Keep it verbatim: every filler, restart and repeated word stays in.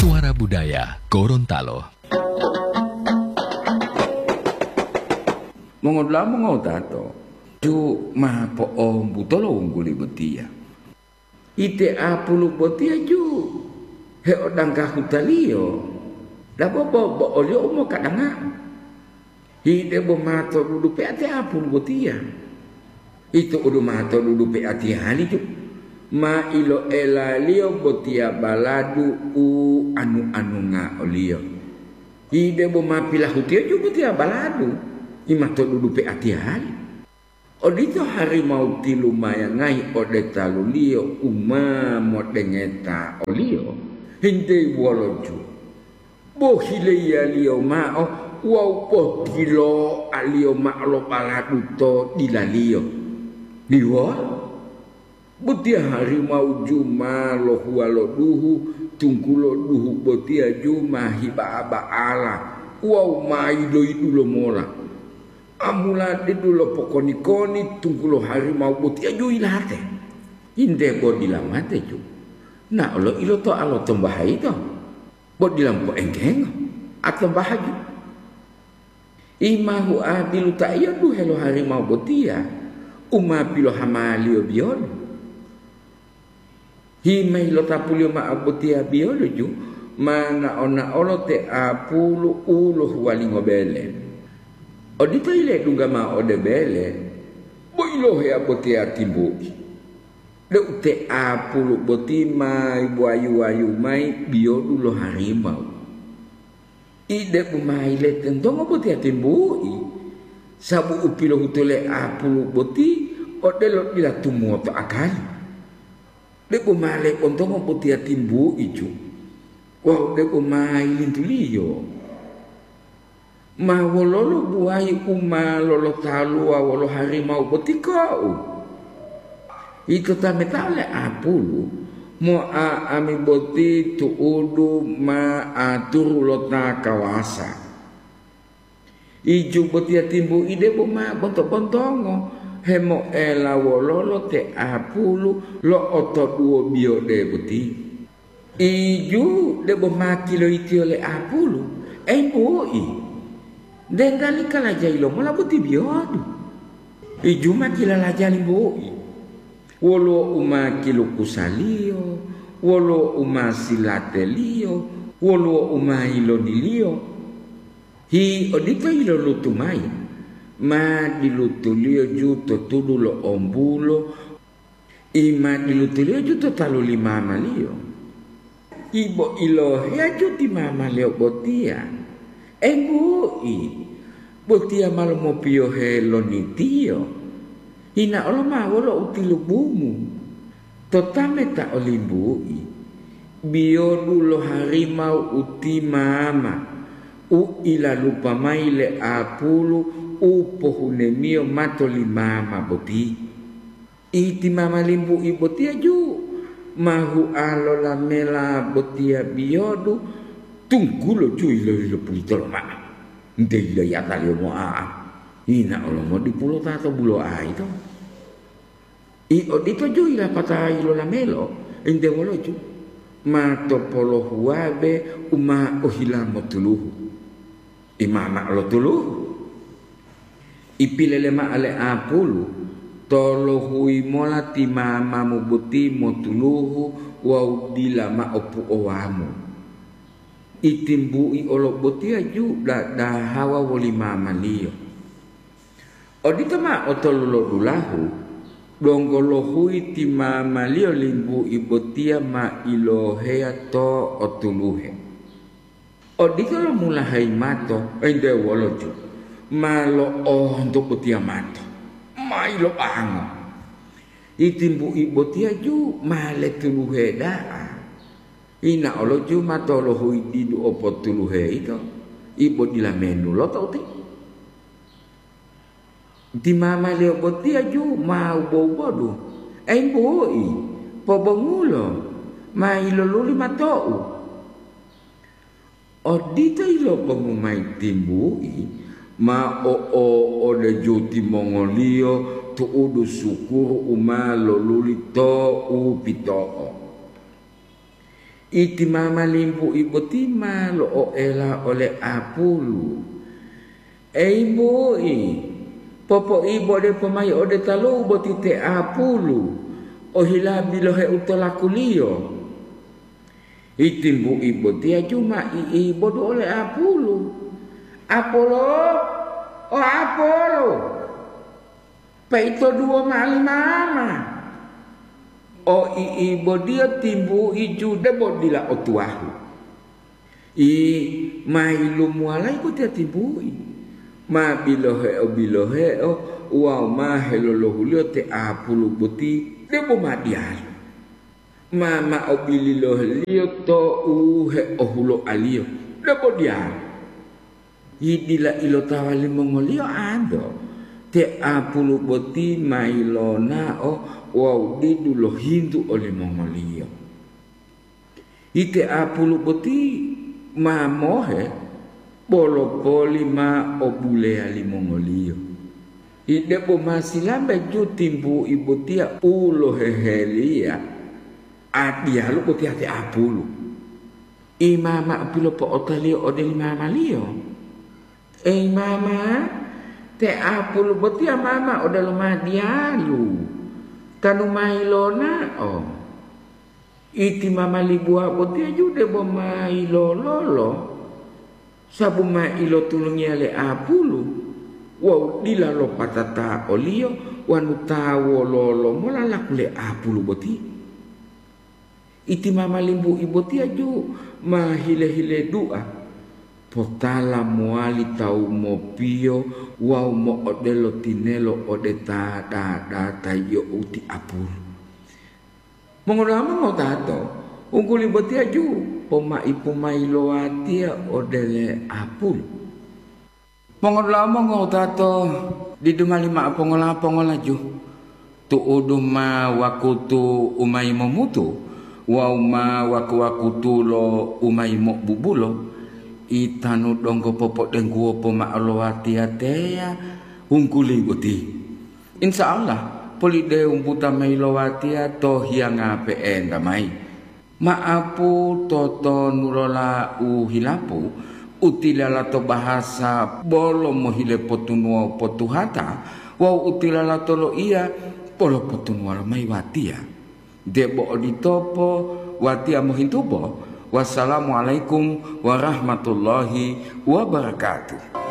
Suara Budaya Gorontalo. Mongodula'a mongotato, ju ma po'ombuto lo wungguli botiya. Ite apulu botiya ju heodangga hutaliyo, dabo bo, bo oliyo u mokadanga'o. Hidebo ma to dudu pe'ati apulu botiya. Ito udu ma to dudu pe'atiyali ju, ma iloelaliyo botiya baladu u anu-anunga oliyo. Hidebo ma pilahutiyo ju botiya baladu, i ma to dudu pe'atiyali. Odito harimau tilumayangayi ode taluliyo u ma modengeta oliyo, hinteyi wolo ju. Bohileyaliyo mao wawu potiloaliyo mao lo baladu to dilaliyo. Diwolo, botiya harimau ju ma lohuwa lo duhu, tunggulo duhu botiya ju ma hiba'a-ba'ala wawu ma yiloyidu lomola. Amula didu lopokoni-koni, tunggulo harimau botiya ju yilate. Inde bo dila mate ju. Nao lo ilotoa lo tombaha yito. Bo dila mopoenggengo, atombaha ju. Imahu abilu ta iyo duhe lo harimau botiya, u ma pilohamaliyo biyolu. Himayi lotapuliyo mao botiya biyolu ju, ma nao-naolo te apulu u lohuwalingo bele. Odito yiledungga mao ode bele, bo iloheya botiya timbu'i. Deu te apulu boti ma wayu-wayu mayi biyodu lo harimau. Ide'u ma yiletontongo botiya timbu'i, sabu u pilohutu le apulu boti odelo dila tumuwoto akali. De'u ma lebontongo botiya timbu'i ju, wawu de'u ma yilintuliyo. Ma wololo buwayi u ma lolotaluwa wolo harimau boti ko'u? Ito tametao le apulu, moa ami boti tu'udu ma aturu lo ta kawasa. Iju botiya timbu'i debo ma bonto-bontongo, hemoela wololo te apulu lo'otoduwo biyode boti. Iju debo ma kiloitiyo le apulu, embu'i, dendali kalajayi lomola boti biyodu. Iju ma kilalaja limbu'i, woluwo u ma kilukusaliyo, woluwo u ma silateliyo, woluwo u ma yiloniliyo. Hi odito yilolutu mayi, ma dilutuliyo ju to tudu lo ombulo, i ma dilutuliyo ju to talu li mamaliyo. Ibo iloheya ju ti mamaliyo botiya, embu'i, botiya ma lomopiyohe lonitiyo. Hinaolo ma wolo u tilubumu. To tameta olimbu'i, biyodu lo harimau u ti mama, u ilalupa mayi le apulu u pohunemiyo mato li mama boti. Iti mama limbu'i botiya ju ma hua lo lamela botiya biyodu, tunggulo ju yilo-yilo pulito lomao, nte yiloyataliyo mo'a'a, hinaolo modipulo ta to bulo'a yito. I odito ju yilapata yilolamelo, ente woloju ma topolohuwabe u ma ohila motuluhu. Imama lo tuluhu. Ipilele mao le apulu, tolohuyi mola ti mamamu boti motuluhu wawu dila mao puowamu. Itimbu'i olo botiya ju dadahawa woli mamaliyo. Odito mao tolu lo dulahu, donggo lohuyi ti mamaliyo limbu'i botiya ma iloheya to otuluhe. Odito lo mulahayi mato, ente woloju, ma lo'onto botiya mato, ma ilobango. Itimbu'i botiya ju ma letuluhe da'a. Ina oloju ma tolohuyi didu opotuluhe ito, ibo dila menuloto uti. Ti mamaliyo botiya ju ma wubo-wubodu, "Embu'i, pobongulo, ma yiloluli mato'u." Odito yilobongu mayi timbu'i, ma o'o'odeju timongoliyo tu'udu sukuru u ma loluli to u pito'o. Iti mama limbu'i boti ma lo'oela ole apulu. Ei mbu'i, popoibode pomayi ode talu'u boti te apulu, ohila biloheu to lakuliyo. Iti mbu'i botiya ju ma i'ibodu ole apulu. Apolo, o apolo! Peito duwo mali mama. O i'ibotiyo timbu'i ju debo dila otuwahu. I ma yilumuwalayi botiya timbu'i. Ma biloheo-biloheo wawu ma helolohuliyo te apulu boti debo ma diyalu. Ma ma'o bilohe-Liyo to'u heohuloa-Liyo, debo diyalu. Yidila ilotawa limongoliyo anto, te apulu boti ma yilonao wawu didu lohintu olimongoliyo. Ite apulu boti ma mohe, bolo poli ma o buleya limongoliyo. Ide bo ma silambe ju timbu'i botiya u loheheliya, a diyalu botiya te apulu. Imama pilopo'otaliyo ode li mamaliyo, "Eyi mama, te apulu botiya mama odelo ma diyalu, tanu ma yilonao." Iti mama libuwa botiya ju debo ma yilololo, sabu ma ilotulungiya le apulu wawu dila lopatata oliyo wonu ta wololo mola laku le apulu boti. Iti mama limbu'i botiya ju ma hile-hile dua, potala mowali tawu mopiyo wawu mo'odelo tinelo ode ta dada ta yi'o uti apulu. Mongodula'a mongotato, ungguli botiya ju pomaipu mayi lo watiya ode le apulu. Mongodula'a mongotato, didu mali mao pongola-pongola ju, tu'udu ma wakutu u mayi momutu wawu ma waku-wakutu lo u mayi mo'obubulo, itanu donggo popodengguwo pomao lo watiya teya ungguli boti. Insya Allah, polideu buta mayi lo watiya to hiyanga pe'enta mayi. Ma'apu totonulola u hilapu, u tilala to bahasa bolo mohile potunuwo potuhata, wawu u tilala to loiya bolo potunuwalo mayi watiya. Debo oditopo, watiya mohintubo. Wassalamualaikum warahmatullahi wabarakatuh.